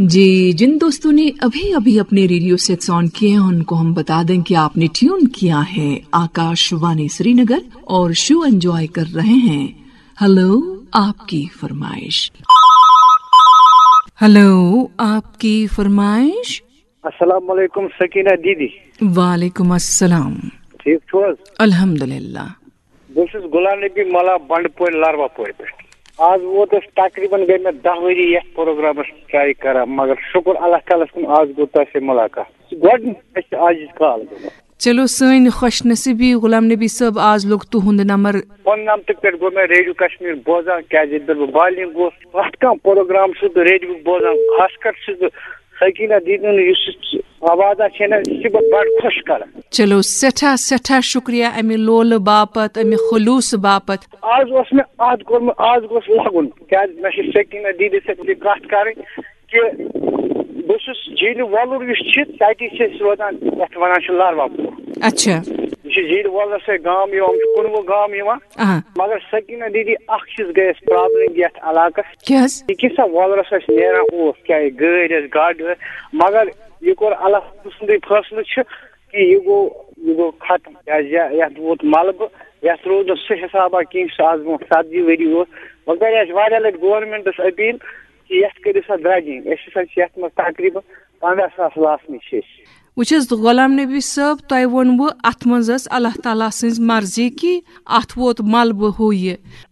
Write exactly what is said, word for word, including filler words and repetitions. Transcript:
जी, जिन दोस्तों ने अभी अभी अपने रेडियो सेट्स ऑन किए हैं, उनको हम बता दें कि आपने ट्यून किया है आकाशवाणी श्रीनगर और शो एंजॉय कर रहे हैं। हेलो, आपकी फरमाइश। हेलो, आपकी फरमाइश। السلام علیکم سکینہ دیدی۔ وعلیکم السلام۔ ٹھیک چھو حظ؟ الحمدللہ۔ بہٕ چھُس غلام نبی ملا بنڈٕ پورِ لاروا پورِ پٮ۪ٹھ۔ آز ووت اَسہِ تقریباً گٔے مےٚ دَہ ؤری یَتھ پروگرامَس ٹرائی کران، مگر شُکُر اللہ تعالیٰ ہَس کُن، آز گوٚو تۄہہِ سۭتۍ مُلاقات۔ گۄڈٕنیُک اَسہِ آز یہِ کال گوٚو۔ چلو، سٲنۍ خۄش نصیٖبی غلام نبی صٲب، آز لوٚگ تُہُنٛد نمبر۔ کُننَمتہٕ پٮ۪ٹھ گوٚو مےٚ ریڈیو کشمیر بوزان، کیازِ ییٚلہِ پٮ۪ٹھ بہٕ بالغ گوس، پرٛٮ۪تھ کانٛہہ پروگرام چھُس بہٕ ریڈیوُک بوزان، خاص کر چھُس بہٕ سکینہ دیدی ہُنٛد یُس یہِ آواز چھےٚ نہ، یہِ چھِ بہٕ بڑٕ خۄش کران۔ چلو، سٮ۪ٹھاہ سٮ۪ٹھاہ شُکریہ اَمہِ لولہٕ باپتھ، اَمہِ خلوٗصہٕ باپتھ۔ آز اوس مےٚ عہد کوٚرمُت، آز گوٚژھ لَگُن، کیازِ مےٚ چھِ سکینہ دیدی سۭتۍ یہِ کَتھ کَرٕنۍ کہِ بہٕ چھُس جیٖلہِ وۄلُر یُس چھِ، تَتی چھِ أسۍ روزان، یَتھ وَنان چھِ لاروا پوٗر۔ اچھا۔ یہِ چھِ جیٖلہِ وۄلرَس سۭتۍ گام یِوان، یِم چھِ کُنوُہ گام یِوان۔ آ۔ مگر سکینہ دیدی، اَکھ چیٖز گٔے اَسہِ پرابلم یَتھ علاقَس۔ کیٛاہ حظ؟ یہِ کیٛاہ سا وۄلرَس اَسہِ نیران اوس، چاہے گٲڑۍ ٲسۍ، گاڑِ ٲسۍ، مگر یہِ کوٚر اللہ سٕنٛدُے فٲصلہٕ چھُ کہِ یہِ گوٚو، یہِ گوٚو ختم۔ کیٛازِ یہِ، یَتھ ووت ملبہٕ، یَتھ روٗد نہٕ سُہ حسابہ کینٛہہ، سُہ آز برونٛٹھ ژتجی ؤری اوس۔ وۄنۍ کَرے اَسہِ واریاہ لَٹہِ گورنمنٹَس اپیٖل کہِ یَتھ کٔرِو سا درٛگِنۍ۔ أسۍ ہسا چھِ یَتھ منٛز تقریٖباً پنٛداہ ساس لاسنٕکۍ چھِ أسۍ۔ وٕچھ حظ، غلام نبی صٲب، تۄہہِ ووٚنوُ اَتھ منٛز ٲس اللہ تعالیٰ سٕنٛز مرضی کہِ اَتھ ووت ملبہٕ ہُہ یہِ۔